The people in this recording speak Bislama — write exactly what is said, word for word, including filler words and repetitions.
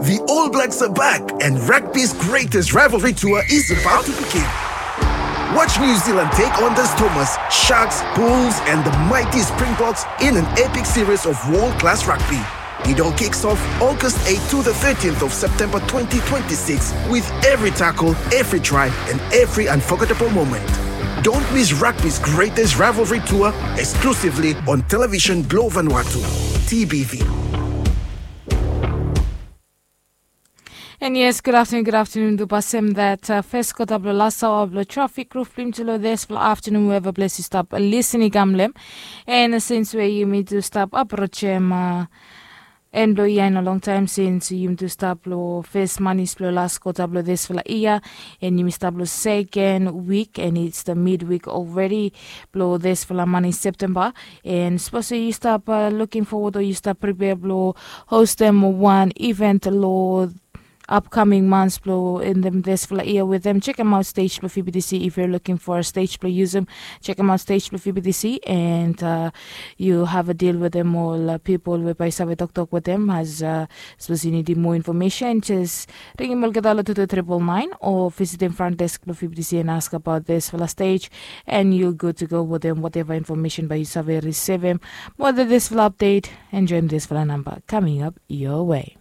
The All Blacks are back, and rugby's greatest rivalry tour is about to begin. Watch New Zealand take on the Stormers, Sharks, Bulls, and the mighty Springboks in an epic series of world class rugby. It all kicks off August eighth to the thirteenth of September twenty twenty-six, with every tackle, every try, and every unforgettable moment. Don't miss rugby's greatest rivalry tour, exclusively on Television Blue Vanuatu, T B V. And yes, good afternoon, good afternoon to Basem. That uh, first kota blo last hour blo traffic roof blim to lo this blo afternoon, whoever bless you stop listening gamlem. And since where you mean to stop approach him, uh, and blo ia in a long time since you to stop lo first money blo last kota blo this blo ia, and you stop lo second week, and it's the midweek already blo this blo money September. And suppose you stop uh, looking forward or you stop prepare blo host them one event lo upcoming months blo in them this blo ia with them. Check them out stage blo F B T C if you're looking for a stage blo use them. Check them out stage blo F B T C and uh, you have a deal with them all uh, people whereby save talk talk with them as uh, suppose you need more information just ring him olgeta lo two two triple nine or visit them front desk blo F B T C and ask about this blo stage and you're good to go with them whatever information by you save receive them. More than this blo update and join this blo number coming up your way.